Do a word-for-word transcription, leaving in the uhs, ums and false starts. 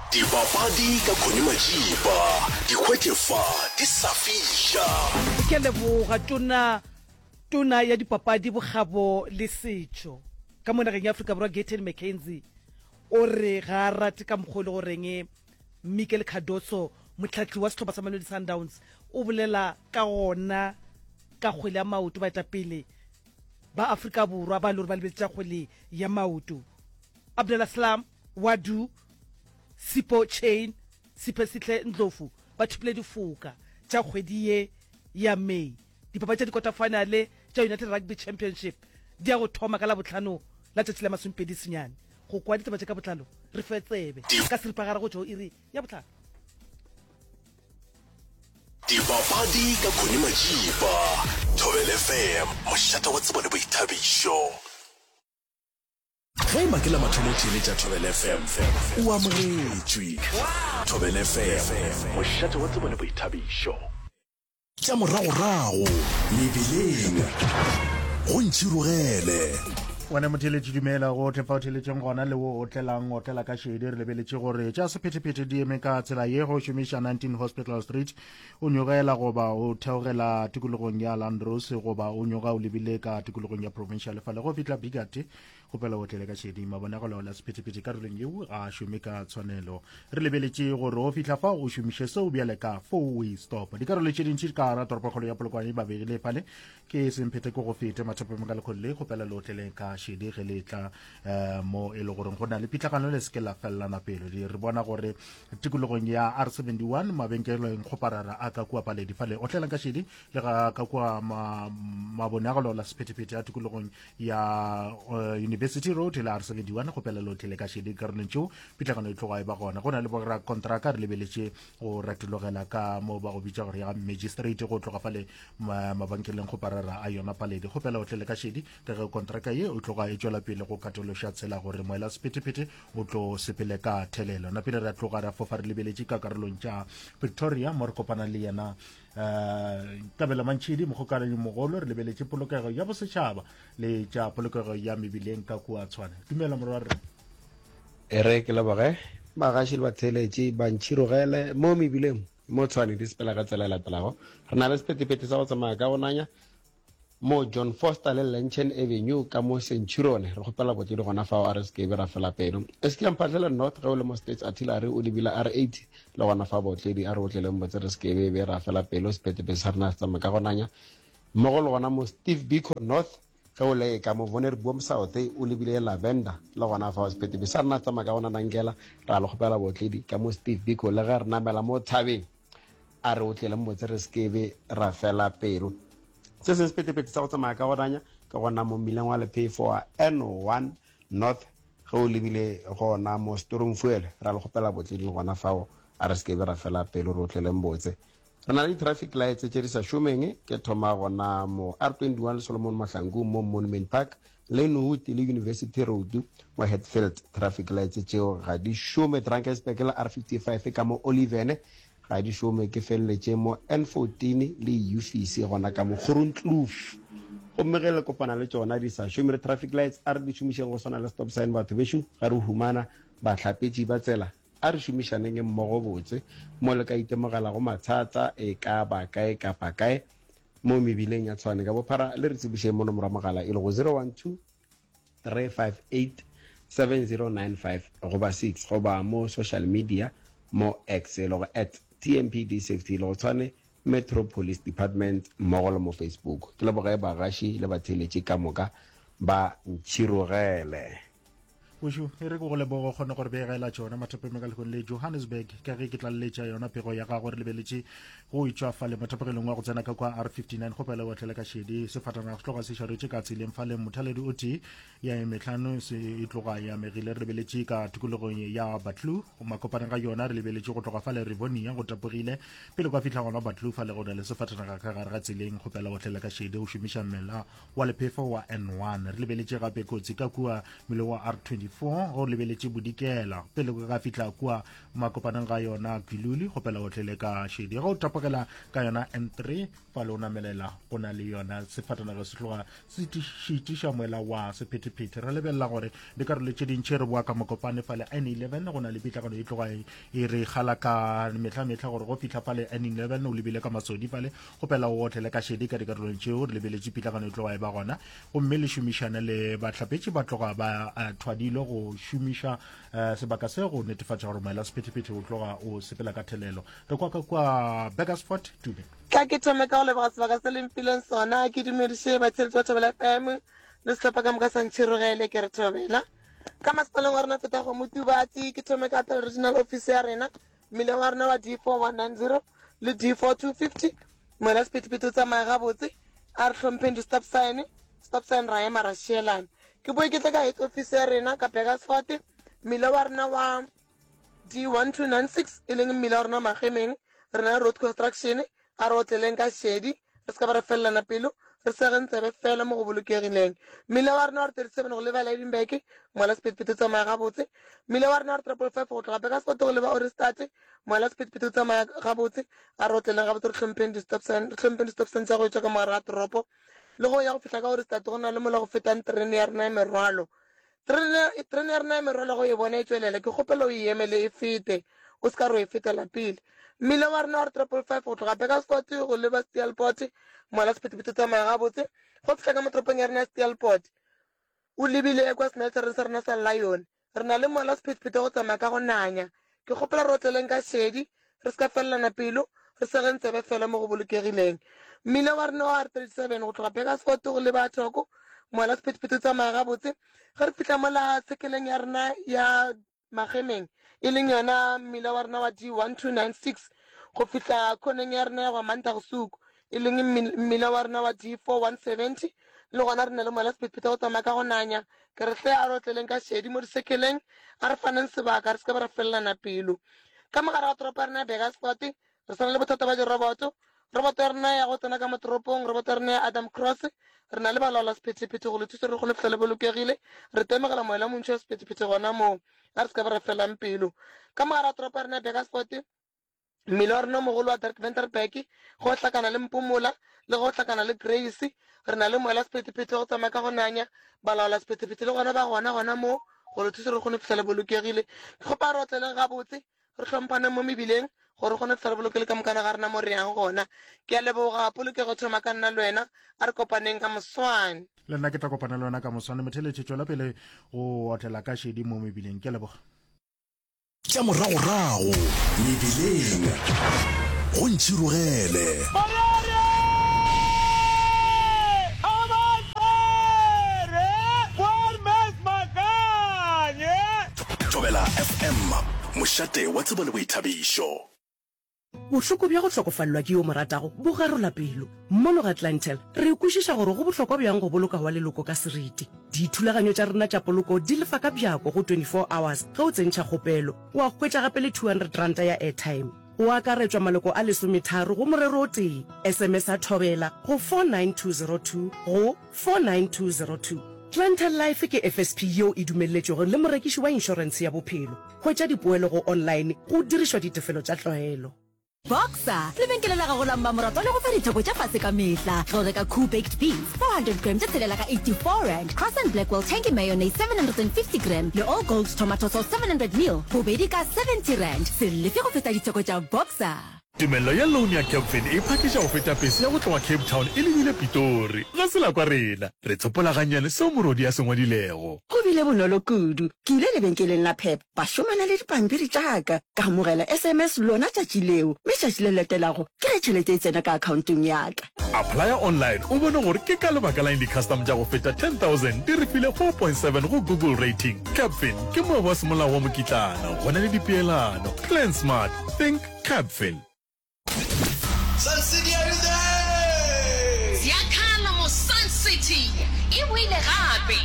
Dipapadi ka Connie Majiba, di hwetše fa di sa fiša. Ke a leboga tona tona ya dipapadi bokgabo le setšo ka mo nageng ya Afrika Borwa Gayton McKenzie o re ga a rate ka mokgwa o le goreng Miguel Cardoso mohlahli wa sehlopha sa Mamelodi Sundowns o bolela ka gona ka kgwele ya maoto baetapele ba Afrika Borwa ba le gore ba lebetse tša kgwele ya maoto Abdeslam Ouaddou Sipho Chaine Siphesihle Ndlovu ba thopile difoka tša kgwedi ye ya May dipapadi tša dikota-finale tša United Rugby Championship di ya go thoma ka Labohlano la tšatši la masomepedi senyane go kwa ditaba tše ka botlalo re fe tsebe ka seripagare go tšwa go iri ya bohlano. Dipapadi ka Connie Majiba, Thobela F M, mošate wa tsebo le boithabišo. Ge e ba ke la mathomo o theeletša Thobela F M, o amogetšwe. Thobela F M, mošate wa tsebo le boithabišo. Tša moragorago, mebileng, go ntšhirogele. Wena motheeletši dumela gohle fa o theeletšeng gona le wo o tlelang otlela ka šedi. Re lebeletše gore tša sephethephethe di eme ka tsela ye go šomiša nineteen Hospital Street o nyogela goba o theogela tikologong ya Landros goba o nyoga o lebile ka tikologong ya Provincial fale go fihla Bigate kgopela o tlele ka šedi. Mabonagalo la sephethephethe karolong yeo ga a šome ka tshwanelo. Re lebeletše gore o fihla fa o šomiše seo bjale ka four way stop. Dikarolo tše dintši ka gara toropokgolo ya Polokwane ba begile fale ke semphete ke go fete mathapeng ka lekgolo le kgopela le otleleng ka šedi ge le tla um mo e le goreng go na le pitlagano le seke la felelana pelo. Re bona gore tikologong ya R seventy-one mabenkeleng kgoparara a ka kua Paledi fale otlelang ka šedi le ga ka kua mabonagalo la sephethephethe a tikologong ya uh, University Road le R seventy-one kgopela le otlele ka šedi karolong tšeo pitlagano e tloga e ba gona. Go na le borakontraka re lebeletše go retologela ka mo ba go bitša gore ya magistrate go tloga fale mabenkeleng kgoparara a yona Paledi kgopela o tlele ka šedi ka ge kontraka ye o tloga e tšwela pele go katološa tsela gore moela sephethephethe o tlo sepele ka thelelo. Napile re tloga ra fofa re lebeletše ka karolong tša Pretoria mo re kopana le yena um Kabelo Mantšhidi mokgokaganyi mogolo re lebeletše polokego ya bosetšhaba le tša polokego ya mebileng ka kua Tshwane. Dumela morwarre. E re ke leboge bagaši le batheeletši ba ntšhirogele mo mebileng mo Tshwane di sepela ka tsela e latelago. Re na le sephethephethe sa go tsamaya ka go nanya mo John Foster le Lenchen Avenue ka mo Centurion. Re kgopela botledi gona fao a re se ke be ra fela pelo. E se ke ya Mphahlele North ge o le mo States Artillery o lebile R eighty le gona fa botledi a re otleleng botse re se ke be be ra fela pelo. Sephethephethe sa rena se tsamaya ka go nanya mmogo le gona mo Steve Biko North ge o le ka mo Vonderboom South o lebile Lavender le gona fao sephethephethe sa rena se tsamaya ka go nanankela. Ra le kgopela botledi ka mo Steve Biko le ge re namela mo thabeng a re otleleng botse re se ke be ra fela pelo. Se sengwe sephethephethe sa go tsamaya ka go nanya ke gona mo mmileng wa lephefo wa N one North ge o lebile gona mo Stormfuel. Ra le kgopela botledi le gona fao a re se ke be ra fela pelo re otleleng botse. Re na le di-traffic lights tše di sa šomeng ke thoma gona mo R twenty-one le Solomon Mahlangu mo Monument Park Lynnwood le University Road mo Hatfield. Traffic lights tšeo ga di šome. Drakensberg le R fifty-five ka mo Oliverne ga di šome. Ke feleletše mo N fourteen le Ufisi gona ka mo Groenkloof. Gomme ge le kopana le tšona di sa šome re traffic lights a re di šomišeng go swana le stop sign batho bešo ga re humana bahlapetši ba tsela a re šomišaneng mmogo botse mo le ka itemogelago mathata e ka ba kae kapa kae mo mebileng ya Tshwane ka bophara le re tsebišeng mo nomoro ya mogala e lego zero one two three five eight seven zero nine five goba six goba mo social media mo X e lego at T M P D safety e lego Tshwane Metro Police Department mmogo le mo Facebook. Ke leboge bagaši le batheeletši ka moka ba ntšhirogele. Bošu, e re ke go lebogo kgone gore begela tšona mathapeng ka lekgong le Johannesburg ka ge ke tlaleletša yona pego ya gago re lebeletše go etšwa fale mathapegelong wa go tsena ka kwa R fifty-nine kgopela wa tlele ka šedi sefatanaga se tloga se šaretše ka tseleng fale mothaledi o tee ya e mehlano se e tloga ya megile re lebeletše ka tikologong ya Batlu makopaneng ga yona re lebeletše go tloga fale Rivonia go tapogile pele kwa fihla gona Batlu fale go na le sefatanaga ka gare ga tseleng kgopela wa tlele ka šedi o šomiša mmela wa lephefo wa N one re lebeletše gape kotsi ka kua mmele wa R twenty-four D four go lebeletše bodikela pele go ka fihla kua makopaneng ga yona Giluli, kgopela o tlele ka šedi. Ge o tapogela ka yona N three fale o namelela go na le yona sefatanaga se tloga se šitiša moela wa sephethephethe. Re lebelela gore dikarolo tše dintši re boa ka Mokopane fale N eleven go na le pitlagano e tloga e re kgala ka mehla-mehla gore go fihla fale N eleven o lebile ka Masodi fale, kgopela o otlele ka šedi ka dikarolong tšeo. Re lebeletše pitlagano e tloga e ba gona, gomme le šomišane le bahlapetši ba tloga ba uh, thwadilwe go šomiša uh, sebaka se go netefatša gore moela sephethephethe o tloga o sepela ka thelelo. Re kwa ka kwa Burgersfort Tume. Tla ke thome ka go leboga sebaka se le mphileng sona, ke dumediše batheeletši ba Thobela F M le sehlopha ka moka sa Ntšhirogele. Ke re thobela ka masepaleng wa rena feta go Motubatsi. Ke thome ka Pele Regional Office ya rena, mmileng wa rena wa D four one nine zero le D four two fifty. Moela sephethephethe o tsamaya gabotse, a re hlompheng di-stop sign, stop sign ra ema ra šielana. Ke boe ke tle ka head office ya rena ka Burgersfort, mmila wa rena wa D one two nine six e leng mmila wa rena Magemeng. Re na le road construction, a re otleleng ka šedi, re se ka ba re felelana pelo, re segeng tsebe fela mo go bolokegileng. Mmila wa rena wa R thirty seven go leba Lydenburg, moela sephethephethe o tsamaya gabotse. Mmila wa rena wa R triple five go tloga Burgersfort go leba Ohrigstad, moela sephethephethe o tsamaya gabotse. A re otleleng gabotse, re hlompheng di-stop sign, re hlompheng di-stop sign tša go etšwa ka mogare ga toropo. Le go ya go fihla ka Ohrigstad go na le mola go fetang terene ya rena ya merwalo. Terene, terene ya rena ya merwalo go e bona e tšwelela, ke kgopela o e emele e fete, o se ka re o e fetela pele. Mmila wa rena wa R triple five go tloga Burgersfort go leba Steelport, moela sephethephethe o tsamaya gabotse. Go fihla ka mo toropong ya rena ya Steelport, o lebile kwa smeltereng sa rena sa Lion. Re na le moela sephethephethe go tsamaya ka go nanya. Ke kgopela re otleleng ka šedi, re se ka felelana pelo, re segeng tsebe fela mo go bolokegileng. Mmila wa rena wa R thirty seven go tloga Burgersfort go leba Thoko, moela sephethephethe o tsamaya gabotse. Ge re fihla mola sekeleng ya rena ya Magemeng, e leng yona mmila wa rena wa D one two nine six go fihla khoneng ya rena ya go Mantagshoek, e leng mmila wa rena wa D four one seventy, le gona re na le moela sephethephethe go tsamaya ka go nanya. Ke re hle a re otleleng ka šedi mo disekeleng, a re faneng sebaka, re se ka ba ra felelana pelo. Ka mogare ga toropo ya rena ya Burgersfort, re swana le bothata ba diroboto. Roboto ya rena ya go tsena ka mo toropong, roboto ya rena ya Adam Cross, re na le balaola sephethephethe go le thusa re kgone go fihla le bolokegile. Re temogela moela montši wa sephethephethe gona moo, a re se ka ba ra felang pelo. Ka mogare ga toropo ya rena ya Burgersfort, mmila wa rena o mogolo wa Dirk Venterberg, go hlakana le Mpomola le go hlakana le Grace, re na le moela sephethephethe go tsamaya ka go nanya. Balaola sephethephethe le gona ba gona gona moo go le thusa re kgone go fihla le bolokegile. Ke kgopa re otleleng gabotse, re hlomphane mo mebileng gore re kgone go fihla re bolokele ka mokana ga rena mo re yang gona. Ke a leboga, polokego thoma ka nna le wena, a re kopaneng ka moswane. Le nna ke tla kopana le wena ka moswane. Motheletše, tšwela pele go otlela ka šedi mo mebileng. Ke a leboga. Tša moragorago mebileng go Ntšhirogele. Thobela F M, mošate wa tsebo le boithabišo. Bohloko bja go hlokofalelwa ke yo mo ratago bo garola pelo. Mono ga Clientele re kwešiša gore go bohlokwa bjang go boloka wa leloko ka seriti. Dithulaganyo tša rena tša poloko di lefa ka bjako go twenty-four hours ge o tsentšha kgopelo. Wa hwetša gape le two hundred ranta ya airtime. Go akaretšwa maloko a lesometharo go morero o tee. S M S a Thobela go four nine two zero two go four nine two zero two. Clientele Life ke F S P yeo e dumelletšwego le morekiši wa inšorentshe ya bophelo. Hwetša dipoelo go online go dirišwa ditefelo tša tlwaelo. Boxer, lebenkele la gago la mmamoratwa le go fa ditheko tša fase ka mehla. Ge o reka Koo Baked Beans four hundred gram tše tshelela ka eighty-four rand, Croissant Blackwell Tangy Mayonnaise seven hundred and fifty gram le All Gold Tomato Sauce seven hundred mil, bobedi ka seventy rand. Se lefe go feta ditheko tša Boxer. Tumello ya loan ya Capfin e phakiša go feta pese ya go tloga Cape Town e lebile Pitori. Ga se la kwa rena, re tsopola gannyane seo morodi a se ngwadilego. Go bile bonolo kudu. Ke ile lebenkeleng la Pep, ba šomana le dipampiri tša ka, ka amogela S M S lona tšatši leo, mme tšatši le latelago ke ge tšhelete e tsena ka akhaontong ya ka. Applya online o bone gore ke ka lebaka la eng di-custom tša go feta ten thousand di re file four point seven go Google rating. Capfin ke moabi wa semolao wa mokitlana, go na le dipeelano. Plan smart, think Capfin. Sun City, are you there? Ziakhala mo Sun City e boile gape.